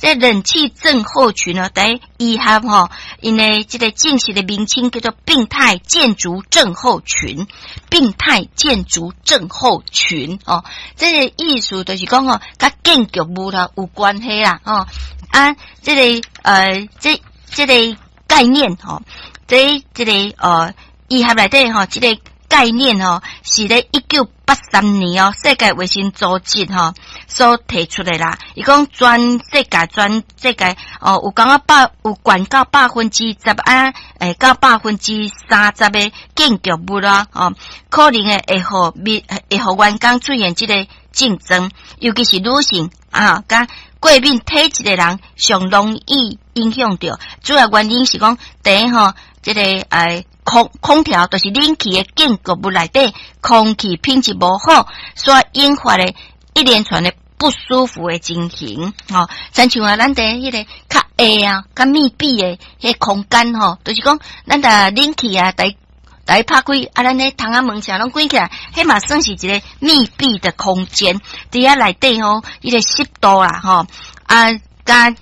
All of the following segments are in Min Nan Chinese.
這冷氣症候群呢，佇醫學吼，𪜶的這個正式的名稱叫做病態建築症候群。病態建築症候群哦，這個意思就是講吼，佮建築物啦有關係啦，吼啊，這個概念吼，這個醫學內底吼，這個概念吼，是咧1983年哦，世界衛生組織吼所提出的啦。伊講全世界哦，有講啊百有懸到10%啊，到30%的建築物啦，哦，可能會予員工出現這個症狀，尤其是女性啊，佮過敏體質的人上容易影響著。主要原因是講，第一吼，這個空調就是冷氣的建築物內底空氣品質無好，所引發的一連串的不舒服的情形。吼，親像啊，咱佇彼個較狹啊、較密閉的彼空間吼，就是講咱若冷氣啊，共拍開啊，咱彼窗仔門啥攏關起來，彼嘛算是一個密閉的空間。佇遐內底吼，彼個濕度啦，吼啊，佮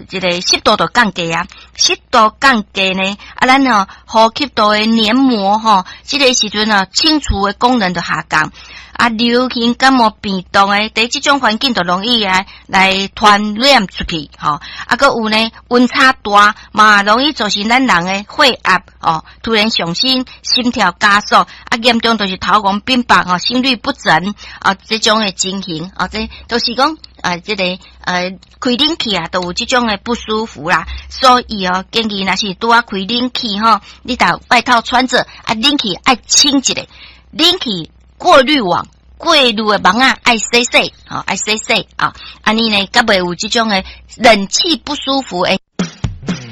這個濕度就降低啊，濕度降低呢，啊，咱哦呼吸道的黏膜吼，這個時陣啊清除的功能就下降，啊，流行感冒病毒的，佇這種環境就容易啊來傳染出去，吼，啊，閣有呢溫差大，嘛容易造成咱人的血壓哦突然上升，心跳加速，啊，嚴重就是頭暈變白吼，心律不整啊，這種的情形啊，這都是講啊，這個開冷氣啊，都有這種的不舒服啦，所以哦，建議若是拄仔開冷氣吼，你著外套穿著，啊，冷氣愛清一下，冷氣過濾網過濾的網仔愛洗洗，吼，愛洗洗啊，按呢呢，才袂有這種的冷氣不舒服的。